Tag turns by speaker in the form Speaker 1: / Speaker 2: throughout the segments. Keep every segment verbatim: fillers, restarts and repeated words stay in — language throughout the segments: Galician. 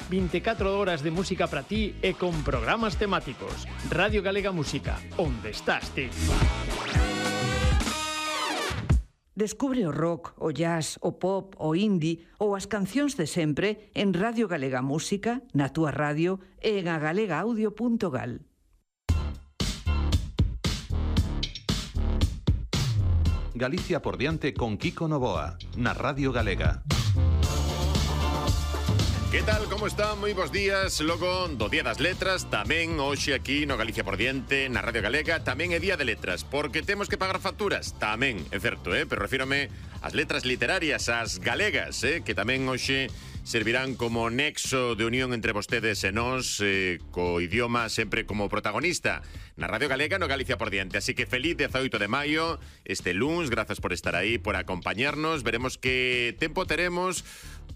Speaker 1: veinticuatro horas de música para ti e con programas temáticos. Radio Galega Música, onde estás ti?
Speaker 2: Descubre o rock, o jazz, o pop, o indie ou as cancións de sempre en Radio Galega Música, na túa radio e en agalegaudio punto gal.
Speaker 3: Galicia por diante con Kiko Novoa, na Radio Galega.
Speaker 4: Que tal, como están? Moi bons días. Logo do Día das Letras, tamén hoxe aquí no Galicia por diante, na Radio Galega, tamén é Día de Letras, porque temos que pagar facturas, tamén, é certo, eh? Pero refírome ás letras literarias, ás galegas, eh? Que tamén hoxe servirán como nexo de unión entre vostedes e nós, eh, co idioma sempre como protagonista na Radio Galega, no Galicia por diante. Así que feliz dezaoito de maio, este luns, grazas por estar aí, por acompañarnos. Veremos que tempo teremos,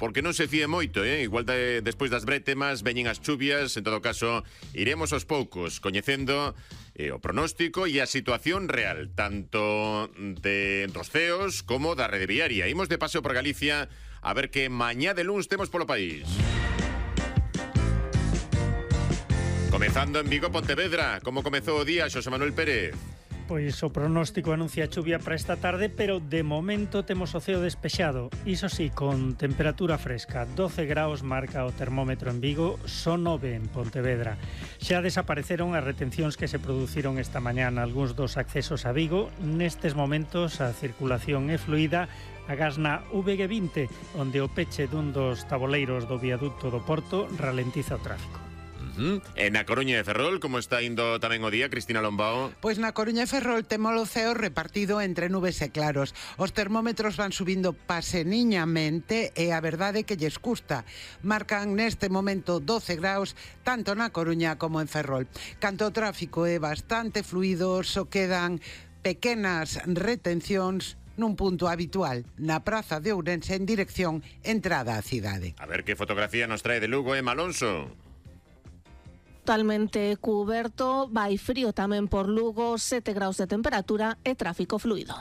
Speaker 4: porque non se fíe moito, eh? Igual de, despois das brétemas veñen as chuvias. En todo caso, iremos aos poucos coñecendo eh, o pronóstico e a situación real, tanto de dos ceos como da rede viaria. Imos de paseo por Galicia a ver que mañá de luns temos polo país. Comezando en Vigo, Pontevedra. Como comezou o día, Xosé Manuel Pérez?
Speaker 5: Pois o pronóstico anuncia chuvia para esta tarde, pero de momento temos o ceo despexado. Iso sí, con temperatura fresca. doce graus marca o termómetro en Vigo, son nove en Pontevedra. Xa desapareceron as retencións que se produciron esta mañá nalgúns dos accesos a Vigo. Nestes momentos a circulación é fluida. Agás na V G vinte, onde o peche dun dos taboleiros do viaducto do Porto ralentiza o tráfico.
Speaker 4: Uh-huh. E na Coruña de Ferrol, como está indo tamén o día, Cristina Lombao?
Speaker 6: Pois na Coruña de Ferrol temos o ceo repartido entre nubes e claros. Os termómetros van subindo paseniñamente e a verdade é que lles custa. Marcan neste momento doce graus, tanto na Coruña como en Ferrol. Canto o tráfico é bastante fluido, só quedan pequenas retencións nun punto habitual, na praza de Ourense en dirección entrada á cidade.
Speaker 4: A ver que fotografía nos trae de Lugo, Emma Alonso.
Speaker 7: Totalmente cuberto, vai frío tamén por Lugo, sete graus de temperatura e tráfico fluido.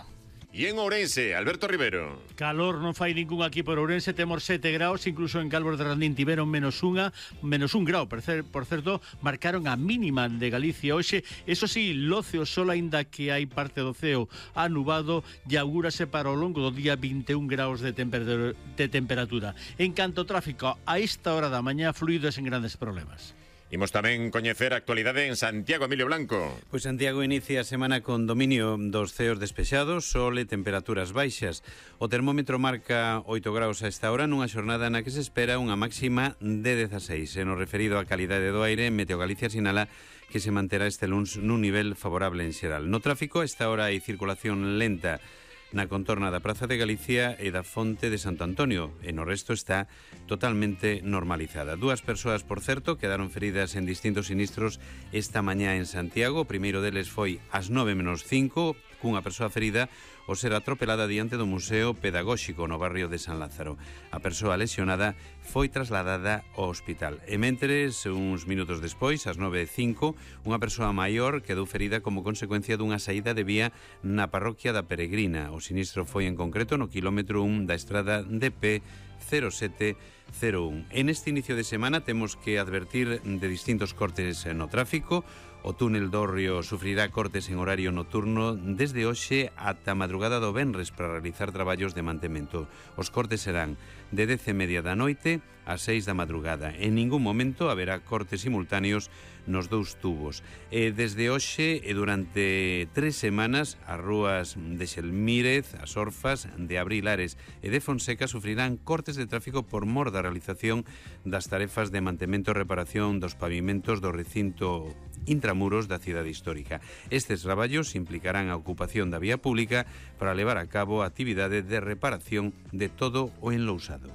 Speaker 4: E en Ourense, Alberto Rivero.
Speaker 8: Calor non fai ningún aquí por Ourense, temos sete graus, incluso en Calvos de Randín tiveron menos unha, menos un grau, por, cer, por certo, marcaron a mínima de Galicia hoxe. Eso sí, loce o sol, aínda que hai parte do ceo anubado, e augúrase para o longo do día vinte e un graus de, temper, de temperatura. En canto ao tráfico, a esta hora da mañá, fluido e sen grandes problemas.
Speaker 4: Imos tamén coñecer a actualidade en Santiago, Emilio Blanco.
Speaker 9: Pois Santiago inicia a semana con dominio dos ceos despexados, sol e temperaturas baixas. O termómetro marca oito graus a esta hora nunha xornada na que se espera unha máxima de dezaseis. E no referido á calidade do aire, Meteo Galicia sinala que se manterá este luns nun nivel favorable en xeral. No tráfico, a esta hora hai circulación lenta na contorna da Praza de Galicia e da Fonte de Santo Antonio, e no resto está totalmente normalizada. Dúas persoas, por certo, quedaron feridas en distintos sinistros esta mañá en Santiago. O primeiro deles foi ás nove menos cinco, cunha persoa ferida ao ser atropelada diante do Museo Pedagóxico no barrio de San Lázaro. A persoa lesionada foi trasladada ao hospital. E mentres, uns minutos despois, ás nove e cinco, unha persoa maior quedou ferida como consecuencia dunha saída de vía na parroquia da Peregrina. O sinistro foi en concreto no quilómetro un da estrada D P cero sete cero un. En este inicio de semana temos que advertir de distintos cortes no tráfico. O túnel do Río sufrirá cortes en horario nocturno desde hoxe ata a madrugada do venres para realizar traballos de mantemento. Os cortes serán de dez e media da noite a seis da madrugada. En ningún momento haberá cortes simultáneos nos dous tubos. E desde hoxe e durante tres semanas as rúas de Xelmírez, as Orfas, de Abrilares e de Fonseca sufrirán cortes de tráfico por mor da realización das tarefas de mantemento e reparación dos pavimentos do recinto intramuros da cidade histórica. Estes traballos implicarán a ocupación da vía pública para levar a cabo a actividade de reparación de todo o enlousado.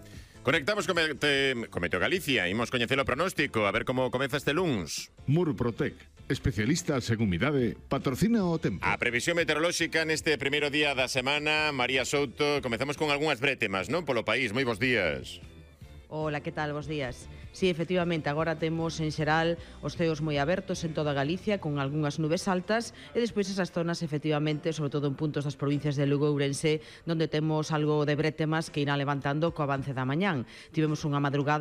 Speaker 4: Conectamos con, Mete, con Meteo Galicia. Imos coñecer o pronóstico, a ver como comeza este luns.
Speaker 10: Murprotec, especialistas en humidade, patrocina o tempo.
Speaker 4: A previsión meteorolóxica neste primeiro día da semana. María Souto, comezamos con algunhas brétemas, non? Polo país, moi bons días.
Speaker 11: Hola, que tal? Bos días. Sí, efectivamente, agora temos en xeral os ceos moi abertos en toda Galicia, con algunhas nubes altas, e despois esas zonas, efectivamente, sobre todo en puntos das provincias de Lugo e Ourense, donde temos algo de brétemas que irán levantando co avance da mañán. Tivemos unha madrugada